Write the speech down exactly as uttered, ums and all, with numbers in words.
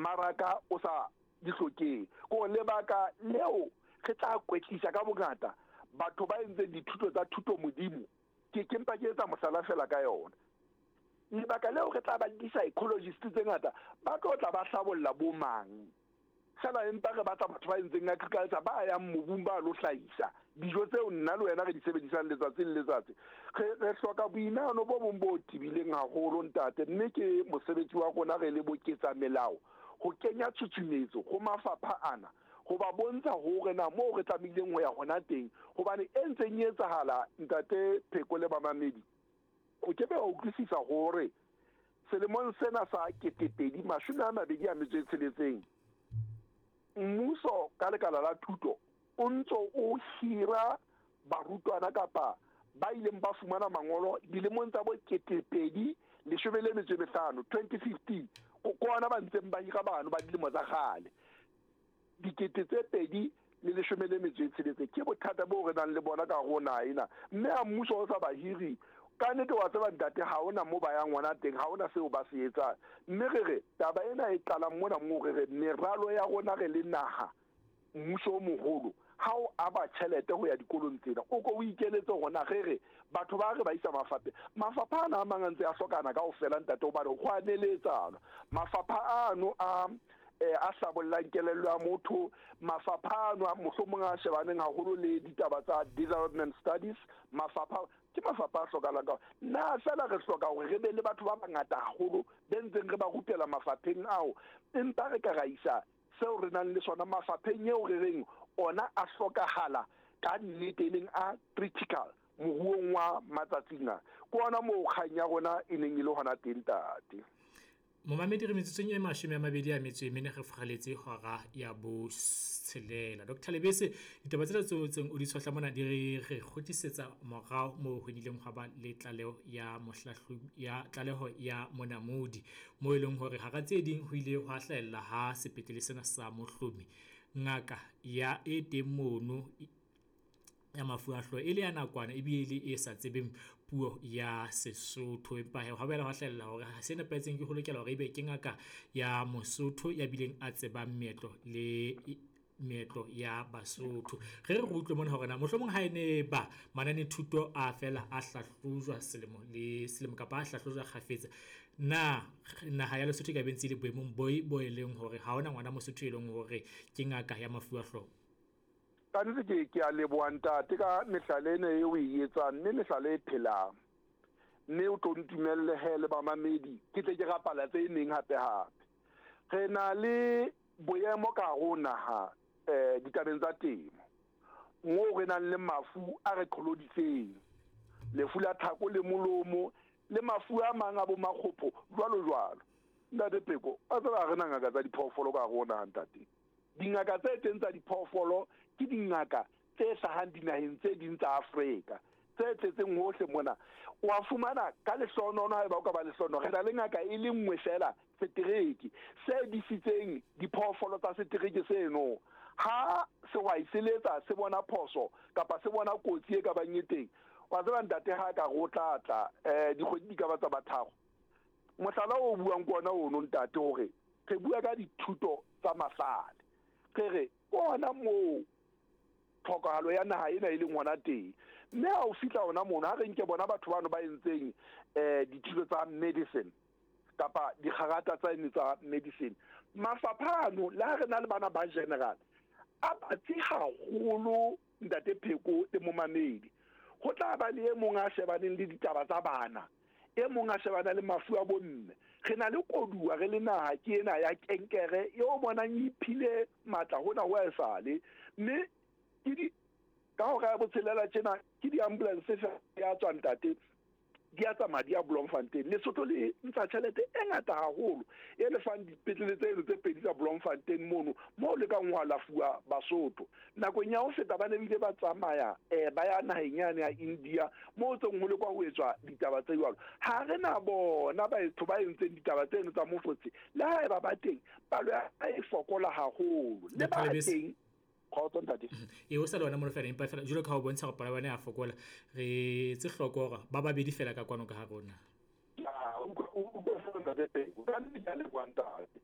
Mmaraka o sa di hlokeng. Ko lebaka leo re tla kwetlisa ka bongata batho ba entseng dithuto tsa thuto modimo, ke ke mpa ke etsa mohlala fela ka yona. Lebaka leo re tla ba le di-psychologist tse ngata ba tlo tla ba hlabolla bo mang fela, empa re batla batho ba entseng agriculture ba yang mobung ba lo hlahisa dijo tseo nna le wena re di sebedisang letsatsi le letsatsi. Re re hloka boinahano bo bong bo tebileng haholo ntate, mme ke mosebetsi wa rona re le boketsa melao ho kenya tshutshumetso ho mafapha ana, ho ba bontsha hore na moo re tlamehileng ho ya hona teng, hobane e ntseng e etsahala ntate Pheko le bamamedi, o ke be wa utlwisisa hore selemong sena sa ketepedi mashome a mabedi a metso e tsheletseng, mmuso ka lekala la thuto o ntso o hira barutwana kapa ba ileng ba fumana mangolo dilemong tsa bo ketepedi leshome le metso e mehlano, twenty fifteen, ko ona ba ntseng ba hira bano ba dilemo tsa kgale dikete tse pedi le leshome le metso e tsheletseng. Ke bothata bo re nang le bona ka hare ho naha ena, mme ha mmuso o sa ba hiri ka nnete wa tseba ntate, ha hona moo ba yang hona teng, ha hona seo ba se etsang. Mme re re taba ena e qalang mona moo re re meralo ya rona re le naha, mmuso o moholo ha o aba tjhelete ho ya dikolong tsena, o ko o ikeletse hore na re re batho ba re ba isa mafapheng. Mafapha ana a mang a ntse a hlokana kaofela ntate, hobane ho a neletsana. Mafapha ano a eh, a hlabollang kelello ya motho, mafapha ano a mohlomong a shebaneng haholo le ditaba tsa development studies, mafapha ke mafapha a hlokahalang ka nna fela re hloka hore re be le batho ba bangata haholo be ntseng re ba rupela mafapheng ao, empa re ka ra isa seo re nang le sona mafapheng eo re reng ona a hlokahala ka nnete, e leng a critical moruong wa matsatsing a. Ke ona moo kgang ya rona e neng e le hona teng ntate. Momamedi, re metsotsong e mashome a mabedi a metso e mene re furaletse hora ya botshelela. Doctor Lebese, ditaba tsena tseo tseng o di tshohla mona di re re kgutlisetsa morao moo ho nnileng hwa ba le tlaleho ya mohlahlobi ya tlaleho ya monamodi, moo e leng hore hara tse ding ho ile hwa hlahella ha sepetlele sena sa Mohlomi ngaka ya e teng mono ya mafu a hlooho e le ya nakwana ebile e le e sa tsebeng puo ya Sesotho. Empa hee hwa boela hwa hlahella hore ha se nepahetseng ke ho lokela hore ebe ke ngaka ya Mosotho ya bileng a tsebang meetlo le meetlo ya Basotho. Re re utlwe mona hore na mohlomong ha e ne ba mananethuto a fela a hlahlojwa selemo le selemo kapa a hlahlojwa kgafetsa, na naha ya Lesotho e ka be ntse e le boemong bo bo e leng hore ha hona ngwana Mosotho e leng hore ke ngaka ya mafu a hlooho? Ka nnete ke, ke a leboha ntate ka mehlala ena eo o e etsang, mme mehlala e phelang. Mme o tlo ntumelle he le bamamedi, ke tle ke rapala tse neng hape hape. Re na le boemo ka hare ho naha, eh, ditabeng tsa temo, moo re nang le mafu a re qholoditseng, lefu la tlhako le molomo le mafu a mang a bo makgopho jwalo jwalo. Ntate Pheko, wa tseba ha re na ngaka tsa diphoofolo ka hare ho naha ntate. Dingaka tse teng tsa diphoofolo ke dingaka tse hlahang dinaheng tse ding tsa Afrika, tse tletseng hohle mona. Wa fumana ka lehlohonolo, haeba o ka ba lehlohonolo, re na le ngaka e le nngwe fela setereke se disitseng diphoofolo tsa setereke seno. Ha sehwai se letsa se bona phoso kapa se bona kotsi e ka bang e teng, wa tseba ntate ha ka re o tla tla, eh, dikgwedi di ka ba tsa ba tharo. Mohlala o buang ke ona ono ntate, hore re bua ka dithuto tsa mahlale, re re ona moo tlhokahalo ya naha ena e leng hona teng. Mme ha o fihla hona mono, ha re nke bona batho bano ba entseng, eh, dithuto tsa medicine kapa dikgarata tsa ene tsa medicine, mafapha ano le ha re na le bana ba general a batsi haholo ntate Pheko le momamedi. Ho tla ba le e mong a shebaneng le ditaba tsa bana, e mong a shebana le mafu a bomme. Re na le koduwa re le naha ke ena ya kenkere eo bonang e iphile matla hona ho esale, mme ke di ka hora ya botshelela tjena ke di-ambulance fela ya tswa ntate, di a tsamaya di ya Bloemfontein. Lesotho le ntsha tjhelete e ngata haholo e lefang dipetlele tseno tse pedi tsa Bloemfontein mono, moo le kang ho alafuwa Basotho. Nakong ya ho feta ba ne bile ba tsamaya, eh, ba ya naheng yane ya India moo tseng ho lekwa ho etswa ditaba tse jwalo. Ha re na bona batho ba entseng ditaba tseno tsa mofotse, le haeba ba teng palo ya e fokola haholo, le ba teng. Kgotso ntate. E o sa le wena mono fela, empa fela jwalo ka ha o bontsha hore palo ya bona ya fokola, re tse hloko hore ba babedi fela ka kwano ka ha rona. Ya, o utlwa, o utlwa fela ntate Pheko. Ka nnete ke a leboha ntate.